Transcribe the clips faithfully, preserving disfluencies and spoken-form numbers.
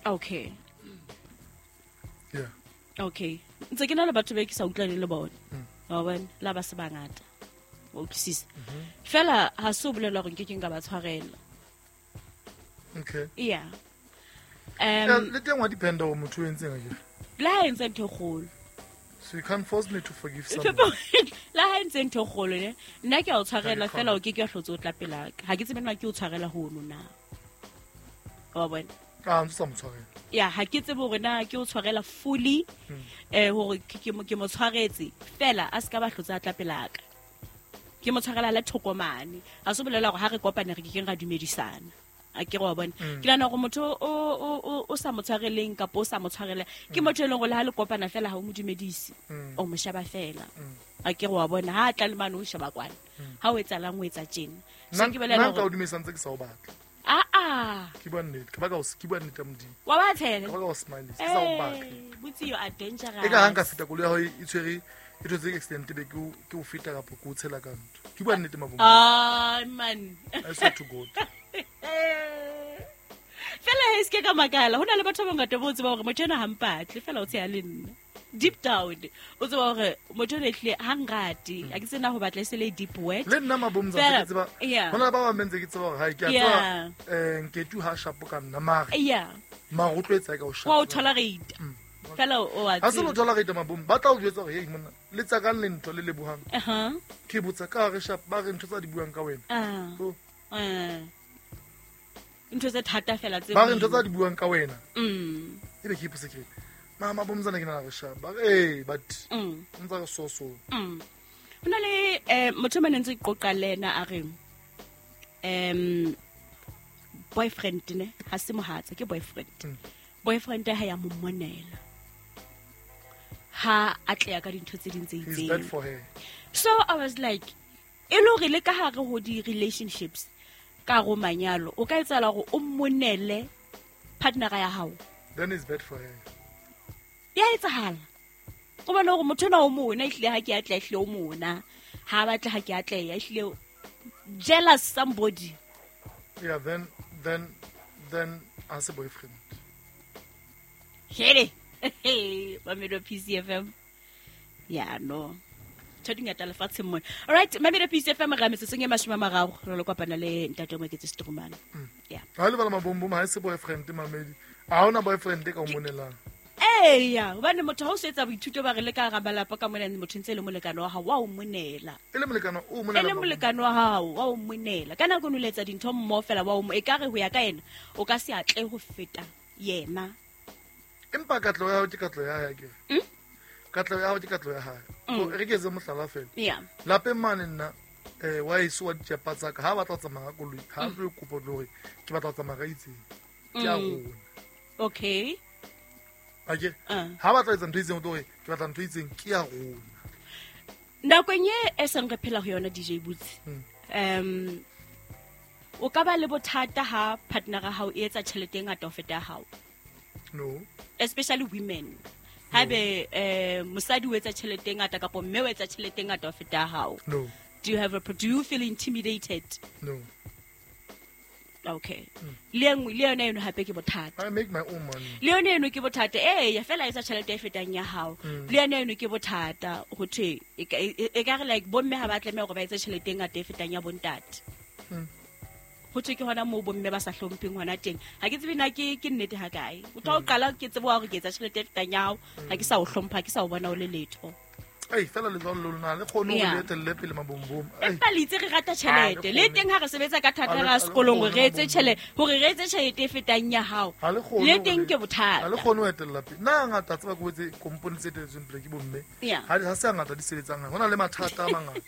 Okay. Yeah. Okay. Ntse ke na le batho ba ke sa utlwane le bona. Wa bona, la ba se bangata. Wa utlwisisa. Fela ha se o bolela hore nke ke nka ba tshwarela. Okay. Yeah. Yeah, Um le teng wa dependa hore motho o entseng akere. Le ha entse ntho e kgolo. So you can't force me to forgive someone. La ha entse ntho e kgolo ne. Nna ke a o tshwarela Ha ke fela o ke ke wa hlotse o tla pelaka. Ha ke tsebe na ke o tshwarela hono na. Wa bona? Ah, ntse sa mo tshwarela. Ya, ha ke tsebe hore na ke o tshwarela fully, eh hore ke ke mo ke mo tshwaretse fela a ska ba hlotse a tla pelaka. Ke mo tshwarela le thokomane. Ha se bolela hore ha re kopane re ke keng ra dumedisana. A ke re wa bona. Ke nahana hore motho o o o o sa mo tshwareleng kapa o sa mo tshwarela ke motho e leng hore le ha le kopana fela ha o mo dumedise. O mo sheba fela. A ke re wa bona ha a tla le mane o sheba kwana. Ha o etsalang o etsa tjena. So Nna ke bolela nna nka o hore dumedisa ntse ke sa o batla. Ah ah. Ke bua nnete, ke baka o ke bua nnete ya Modimo. Wa ba tshela? Ke baka o smile, ke sa o batle. Eh, Butsi, you are dangerous. E ka ha nka feta koloi ya hao e tshwere e thotse accident be ke o ke o feta kapa ke o tshela ka ntho. Ke bua nnete mabong. Ah man. I swear to God. Fela he se ke ka makala. Ho na le batho ba bangata bo tseba hore motho ena ha mpatle fela o tsheha le nna. Deep down o tseba hore motho ena ehlile ha nrate. Ha ke tsena ho batla e se le deep word. Le nna mabomza Fela, ke tseba. yeah. Hona le ba bang ba ntse ke tseba hore hai ke a Yeah. tseba eh Nketu ha shapo ka nna mare. Yeah. Mare o tlo etsa ka o shapo. Wa o tolerate. Fela o a Ha se lo tseba. tolerate mabom ba tla o jwetsa hore hey monna le tsa kang le ntho le lebohang. Uh-huh. Ke botsa ka re sharp ba re ntho tsa di buang ka wena. Ah. Oh. Eh. Ntho tse thata fela tse Ba re ntho boima. tsa di buang ka wena. Mm. Ebe ke ipotse ke re, mama bomzana ke nana re sharp. Ba re eh but Mm. ntsa re so so. Mm. Ho na le eh motho mane ntse ke qoqa le yena a re em boyfriend ne ha se mohatsa ke boyfriend. Mm. Boyfriend ha ya mo monela. Ha a tleya ka dintho tse ding tse He's itseng. bad for her. So I was like e le hore le ka hare ho di relationships ka go manyalo o ka etsahala hore o monele partner ya hao. Then it's bad for her. Ya etsahala. O bona hore motho ena o mona ehlile ha ke atleha ehlile o mona. Ha batle ha ke atleha ehlile jealous somebody. Yeah, then then then as a boyfriend. Hele. Mamelodi P C F M. Yeah, no. Ntho di ngata lefatsheng mona. All right, Mamelodi P C F M re metsotsong e mashome a mararo re lo kopana le ntate o Moeketsi Strumane. Yeah. Ha le bala mabombom ha e se boyfriend mamedi. Ha hona boyfriend e ka o monelang. Ee, ya, hobane motho ha o se etsa boithuto ba re le ka hara malapa ka mona motho ntse e le molekane wa hao wa o monela. E le molekane o monela. E le molekane wa hao wa o monela. Ka nako e nngwe le etsa dintho mmoho fela wa o mo-, ekare ho ya ka yena o ka se atle ho feta yena. Empa katleho ya hao ke katleho ya hae akere. Mm? Katleho ya hao ke katleho ya hae. Mm. So, re ke etse mohlala fela. Yeah. Lapeng mane nna eh wa eso wa ditjepa tsa ka ha batla ho tsamaya ka koloi, ha Mm. tlo kopa hore ke batla ho tsamaya ka itseng. Ke a Mm. rona. Okay. Akere? Ah. Ha batla etsa ntho e itseng o tlo re ke batla ntho e itseng ke ya rona. Nakong e e seng re phela ho yona D J Boots. Mm. Um o ka ba le bothata ha partner ya hao e etsa tjhelete e ngata ho feta ya hao. No. Especially women. Haebe eh mosadi o etsa tjhelete e ngata kapa mme o etsa tjhelete e ngata ho feta ya hao. No. Do you have a do you feel intimidated? No. Okay. Mm. Le nngwe le yona eno hape ke bothata. I make my own money. Le yona eno ke bothata. Eh, ya fela etsa tjhelete e fetang ya hao. Mm. Le yona eno ke bothata ho thwe e ka, e, e ka re like bomme ha ba tlameha hore ba etse tjhelete e ngata e fetang ya bontate. Mm. Ho thwe ke hona moo bomme ba sa hlompheng hona teng. Ha ke tsebe na ke, ke nnete ha kae. O tla o Mm. qala ke tsebe hore ke etsa tjhelete e fetang ya hao, ha ke sa o hlompha, ha ke sa o bona o le letho. Ei, fela letswalo lo lona, le kgone hore Yeah. le etelle pele mabombom. Ei. Empa le itse re rata tjhelete. Ha, le Le kgone. teng ha re sebetsa ka thata Ha le- ra ha le sekolong hore kgone re etse mabombom. tjhelete, hore re etse tjhelete e fetang ya hao. Ha le kgone Le hore teng le- ke bothata. Ha le kgone ho etella pele. Nna hangata tseba ke boetse kompone tse etelletsweng pele ke bomme. Yeah. Ha di-, ha se hangata di sebetsang. Ho na le mathata a mangata.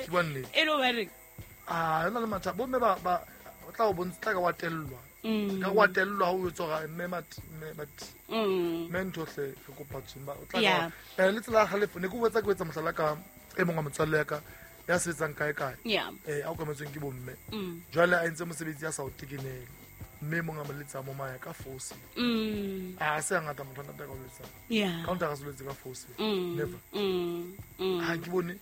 Ke bua nnete. E le hobane? Ah, ho na le mathata. Bomme ba, ba, o tla o bontsha, tla ka wa tellwa. Mm. Ka wa tellwa ha o etsa hore mme mat-, mme mat-, Mm. mme ntho hle re kopa tjhe, ba, o tla ka Yeah. wa-, eh, le tsela ya kgalefo, ne ke botsa ke etsa mohlala ka e mong wa motswalle ya ka, ya sebetsang kae kae. Yeah. Eh, a okametsweng ke bomme. Mm. Jwale a entse mosebetsi a sa o tekenele. Mme mong a mo letsa mo maya ka force. Mm. A se hangata motho a ntate a ka o letsang. Yeah. Ka o ntate a ka se o letse ka force. Mm. Never. Mm. Mm. Ha ke bone,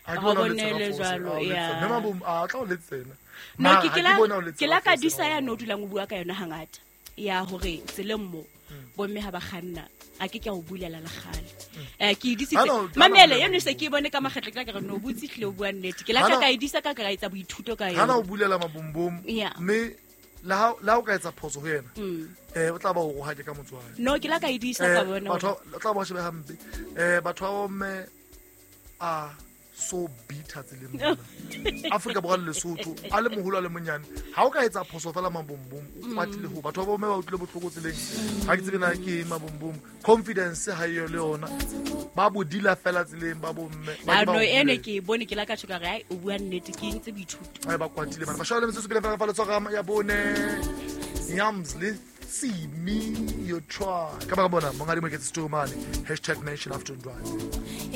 ha ke Ha o bone a o letsa ka bonele force, jwalo, a o letsa. yeah. Mme mabom, a tla o letsa yena. No, Mara ke ha ke ke la bone a o letsa ke ka la ka force, dusa ha o ya no bone. dulang o bua ka yona hangata. ya hore tseleng mo bomme ha ba kganna a ke ke a o bulela le kgale. Eh ke e disitse. Ha no- ha no Mamele bulela eno se ke e bone ka makgetlo ke la ka re no butse tlile o bua nnete. Ke la Ha ka no- ka e disa ka ka etsa boithuto ka hana o yona. bulela mabombom Yeah. mme le ha le ha o ka etsa phoso ho yena Mm. um o tla ba o rohake ka motswadi. No ke la ka e disa ka Eh, bona. batho hore- ba- o tla ba o shebe hampe. um batho ba bomme a so bitter tseleng mona. Afrika Borwa le Lesotho a le moholo a le monyane ha o ka etsa phoso fela mabombom o kwatile ho batho ba bomme ba utlwile bohloko tseleng ha ke tsebe na ke eng mabombom confidence ha eyo le yona ba bodila fela tseleng ba bomme ba Ah, ke ba no o eno bulele. ke e bone ke la ka tjho ka re ai o bua nnete ke entse boithuto. Ai, ba kwatile bana ba shaba le metsotso pele fela fa letshwara ya bone yams le tsimi you try ka baka bona monghadi Moeketsi Story mane hashtag nation afternoon drive.